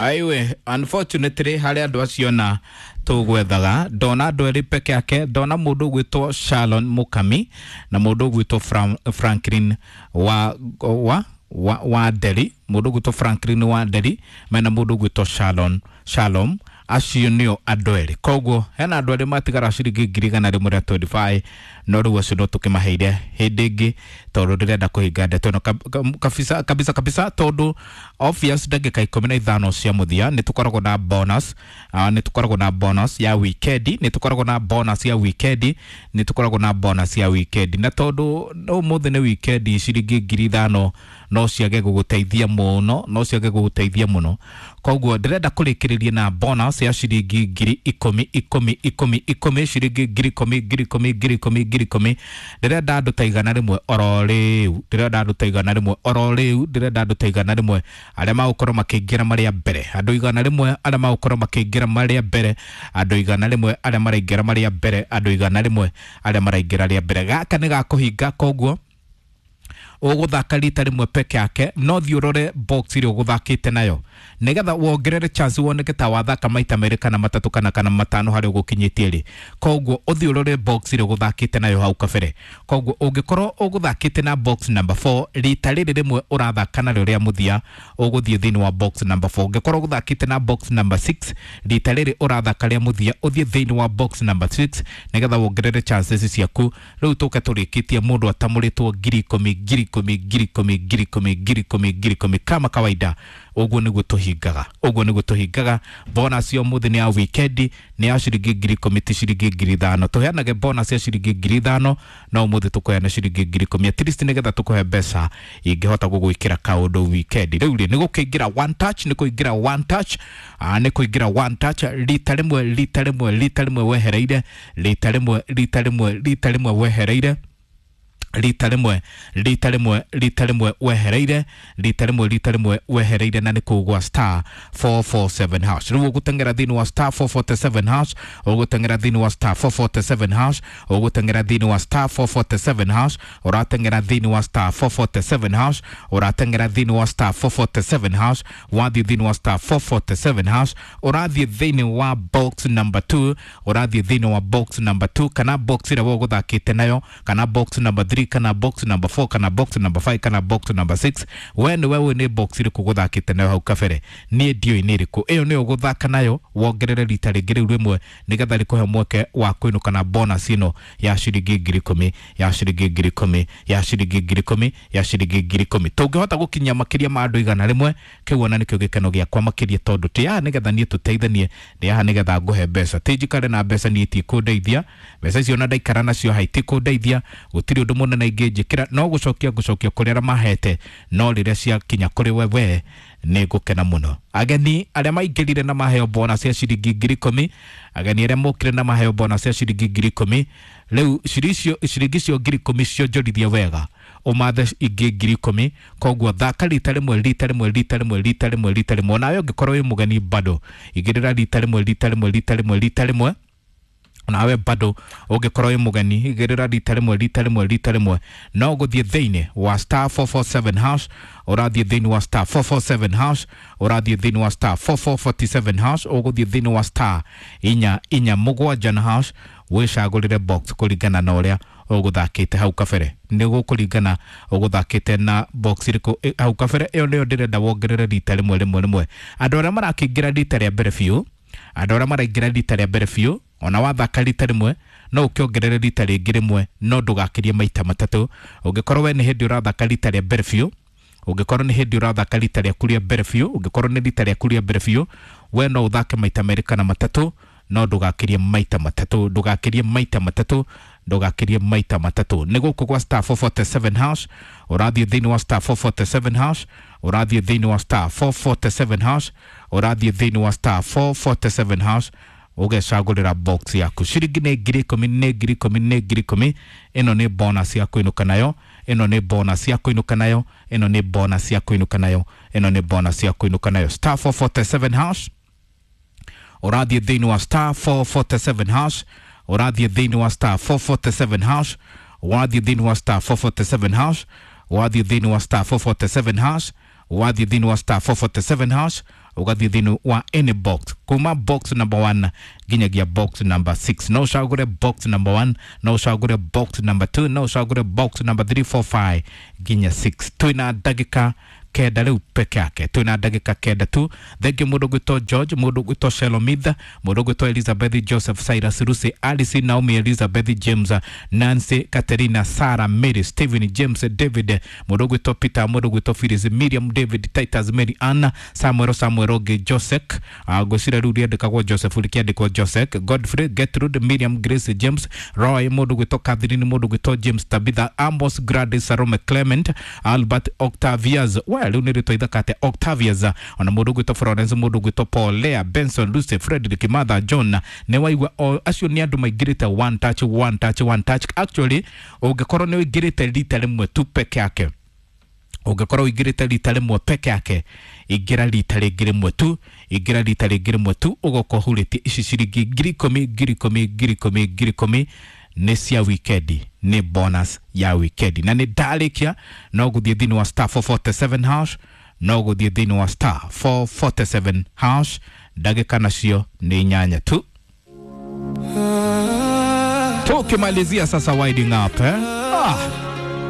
Aiwe, unfortunately harĩ andũ acio na tũgwethaga ndona andũ erĩ peke yake, ndona mũndũ ũgwĩtwo Shalon Mukami na mũndũ ũgwĩtwo Franklin wa Nderi, mũndũ ũgwĩtwo Franklin wa Nderi mena mũndũ ũgwĩtwo Shalom, acio nĩo andũ erĩ. Koguo hena andũ erĩ matigara ciringi 125,000, no rĩu acio no tũkĩmaheire hĩndĩ ĩngĩ tondũ ndĩrenda kũhinga ndeto ĩno kabisa kabisa kabisa, tondũ obvious ndagĩka 15 cia mũthia nĩ tũkoragwo na bonus, nĩ tũkoragwo na bonus ya weekend, nĩ tũkoragwo na bonus ya weekend, nĩ tũkoragwo na bonus ya weekend, na tondũ ũmũthĩ nĩ weekend, ciringi 5,000 no ciage gũgũteithia mũno, no ciage gũgũteithia mũno. Koguo ndĩrenda kũrĩkĩrĩria na bonus ya ciringi 10,000 10 10 10, ciringi 10,000 10,000 10,000 10,000. Ndĩrenda andũ ta 100 oro rĩu, ndĩrenda andũ ta 100 oro rĩu, ndĩrenda andũ ta 100 arĩa magũkorwo makĩingĩra marĩa mbere, andũ 100 arĩa magũkorwo makĩingĩra marĩa mbere, andũ 100 arĩa maraingĩra marĩa mbere, andũ 100 arĩa maraingĩra rĩa mbere. Gaka nĩ gakũhinga, koguo ũgũthaka rita rĩmwe peke yake, no thiĩ ũrore box ĩrĩa ũgũthakĩte nayo nĩgetha wongerere chance woneke ta wathaka maita merĩ kana matatũ kana matano harĩa ũgũkinyĩtie rĩ. Koguo ũthiĩ ũrore box ĩrĩa ũgũthakĩte nayo hau kabere. Koguo ũngĩkorwo ũgũthakĩte na box number 4, rita rĩrĩ rĩmwe ũrathaka narĩo rĩa mũthia ũgũthiĩ thĩinĩ wa box number 4. Ũngĩkorwo ũgũthakĩte na box number 6, rita rĩrĩ ũrathaka rĩa mũthia ũthiĩ thĩinĩ wa box number 6 nĩgetha wongerere chances ciaku. Rĩu tũke tũrĩkĩtie mũndũ atamũrĩtwo 10,000 10,000 10,000 10,000 10,000 10,000 kama kawaida. Ũguo nĩguo tũhingaga, ũguo nĩguo tũhingaga. Bonus ya ũmũthĩ nĩ ya weekend, nĩ ya ciringi 10,000, ti ciringi 5,000. Tũheanage bonus ya ciringi 5,000, no ũmũthĩ tũkũheana ciringi 10,000 at least nĩgetha tũkũhe mbeca ingĩhota gũgwĩkĩra kaũndũ weekend. Rĩu rĩ, nĩ gũkĩingĩra one touch, nĩ kũingĩra one touch, nĩ kũingĩra one touch rita rĩmwe, rita rĩmwe, rita rĩmwe wehereire, rita rĩmwe, rita rĩmwe, rita rĩmwe wehereire, rita rĩmwe, rita rĩmwe, rita rĩmwe wehereire, rita rĩmwe, rita rĩmwe wehereire, na nĩ kũu gwa star 447 hash. Rĩu ũgũteng'era thĩinĩ wa star 447 hash, ũgũteng'era thĩinĩ wa star 447 hash, ũgũteng'era thĩinĩ wa star 447 hash, ũrateng'era thĩinĩ wa star 447 hash, ũrateng'era thĩinĩ wa star 447 hash, wathiĩ thĩinĩ wa star 447 hash, ũrathiĩ thĩinĩ wa box number 2, ũrathiĩ thĩinĩ wa box number 2 kana box ĩrĩa we ũgũthakĩte nayo, kana box number 3, kana box number 4, kana box number 5, kana box number 6. We nĩ we nĩ box ĩrĩkũ ũgũthakĩte nayo hau kabere? Niĩ ndiũĩ nĩ ĩrĩkũ. Ĩyo nĩyo ũgũthaka nayo wongerere rita rĩngĩ rĩu rĩmwe nĩgetha rĩkũhe mweke wa kũinũka na bonus ĩno ya ciringi 10,000, ya ciringi 10,000, ya ciringi 10,000, ya ciringi 10,000. Tũngĩhota gũkinyia makĩria ma andũ 100, kĩu ona nĩkĩo gĩkeno gĩakwa makĩria, tondũ ti haha nĩgetha niĩ tũteithanie, ndĩ haha nĩgetha ngũhe mbeca. Ti njikare na mbeca niĩ itikũndeithia, mbeca icio ona ndaikara nacio haha itikũndeithia, gũtirĩ ũndũ mũnene ingĩnjĩkĩra, no gũcokia ngũcokia kũrĩ arĩa mahete, no rĩrĩa ciakinya kũrĩ we nĩ ngũkena mũno. Ageni arĩa maingĩrire na maheo bonus ya ciringi 10,000, ageni arĩa mokire na maheo bonus ya ciringi 10,000, rĩu ciringi icio 10,000 cionjorithie wega, ũmathe ingĩ 10,000. Koguo thaka rita rĩmwe, rita rĩmwe, rita rĩmwe, rita rĩmwe, rita rĩmwe. Onawe ũngĩkorwo wĩ mũgeni bado igĩrĩra rita rĩmwe, rita rĩmwe, rita rĩmwe, rita rĩmwe. Nawe bado ũngĩkorwo wĩ mũgeni igĩrĩra rita rĩmwe, rita rĩmwe, rita rĩmwe. No gũthiĩ thĩinĩ wa star 447 hash, ũrathiĩ thĩinĩ wa star 447 hash, ũrathiĩ thĩinĩ wa star 4447 hash, ũgũthiĩ thĩinĩ wa star 447 na hash, wĩcagũrĩre box kũringana na ũrĩa ũgũthakĩte hau kabere. Nĩ gũkũringana ũgũthakĩte na box ĩrĩkũ hau kabere. Ĩyo nĩyo ndĩrenda wongerere rita rĩmwe, rĩmwe, rĩmwe. Andũ arĩa marakĩingĩra rita rĩa mbere biũ, andũ arĩa maraingĩra rita rĩa mbere biũ, ona wathaka rita rĩmwe no ũkĩongerere rita rĩngĩ rĩmwe, no ndũgakĩrie maita matatũ. Ũngĩkorwo we nĩ hĩndĩ ũrathaka rita rĩa mbere biũ, ũngĩkorwo nĩ hĩndĩ ũrathaka rita rĩaku rĩa mbere biũ, ũngĩkorwo nĩ rita rĩaku rĩa mbere biũ, we no ũthake maita merĩ kana matatũ, no ndũgakĩrie maita matatũ, ndũgakĩrie maita matatũ, ndũgakĩrie maita matatũ. Nĩ gũkũ gwa star 447 hash, ũrathiĩ thĩinĩ wa star 447 hash, ũrathiĩ thĩinĩ wa star 447 hash, ũrathiĩ thĩinĩ wa star 447 hash, ũgecagũrĩra box yaku. Ciringi nĩ 10,000, nĩ 10,000, nĩ 10,000. Ĩno nĩ bonus ya kũinũka nayo, ĩno nĩ bonus ya kũinũka nayo, ĩno nĩ bonus ya kũinũka nayo, ĩno nĩ bonus ya kũinũka nayo. Star 447 hash, ũrathiĩ thĩinĩ wa star 447 hash, ũrathiĩ thĩinĩ wa star 447 hash, wathiĩ thĩinĩ wa star 447 hash, wathiĩ thĩinĩ wa star 447 hash, Wathiĩ thĩinĩ wa *447#, ũgathiĩ thĩinĩ wa any box kuma box number 1 nginyagia box number 6. No ũcagũre box number 1, no ũcagũre box number 2, no ũcagũre box number 3, 4, 5 nginya 6. Twĩna ndagĩka 9 rĩu peke yake, twĩna ndagĩka 9 tu. Thengiũ mũndũ ũgwĩtwo George, mũndũ ũgwĩtwo Shelomith, mũndũ ũgwĩtwo Elizabeth, Joseph, Cyrus, Lucy, Alice, Naomi, Elizabeth, James, Nancy, Katerina, Sarah, Mary, Stephen, James, David, mũndũ ũgwĩtwo Peter, mũndũ ũgwĩtwo Phyllis, Miriam, David, Titus, Mary Ann, Samuel, Samuel ũngĩ, Joseph, ngwĩciria rĩu rĩandĩkagwo Joseph rĩkĩandĩkwo Joseph, Godfrey, Gertrude, Miriam, Grace, James, Roy, mũndũ ũgwĩtwo Catherine, mũndũ ũgwĩtwo James, Tabitha, Amos, Gladys, Salome, Clement, Albert, Octavius, we rĩu nĩ rĩtwa ithaka atĩa, Octavius, ona mũndũ ũgwĩtwo Florence, mũndũ ũgwĩtwo Paul, Lea, Benson, Lucy, Frederick, Martha, John. Nĩ waigua o acio nĩ andũ maingĩrĩte one touch, one touch, one touch. Actually, ũngĩkorwo nĩ ũingĩrĩte rita rĩmwe tu peke yake, ũngĩkorwo ũingĩrĩte rita rĩmwe peke yake, ingĩra rita rĩngĩ rĩmwe tu, ingĩra rita rĩngĩ rĩmwe tu, ũgoka ũhurĩtie ici ciringi 10,000, 10,000, 10,000, 10,000 nĩ cia wikendi, nĩ bonus ya wikendi. Na nĩ ndarĩkia, no gũthiĩ thĩinĩ wa *447#, no gũthiĩ thĩinĩ wa *447#. Ndagĩka nacio nĩ 8 tu. Tukimalizia sasa winding up, eh? Ah.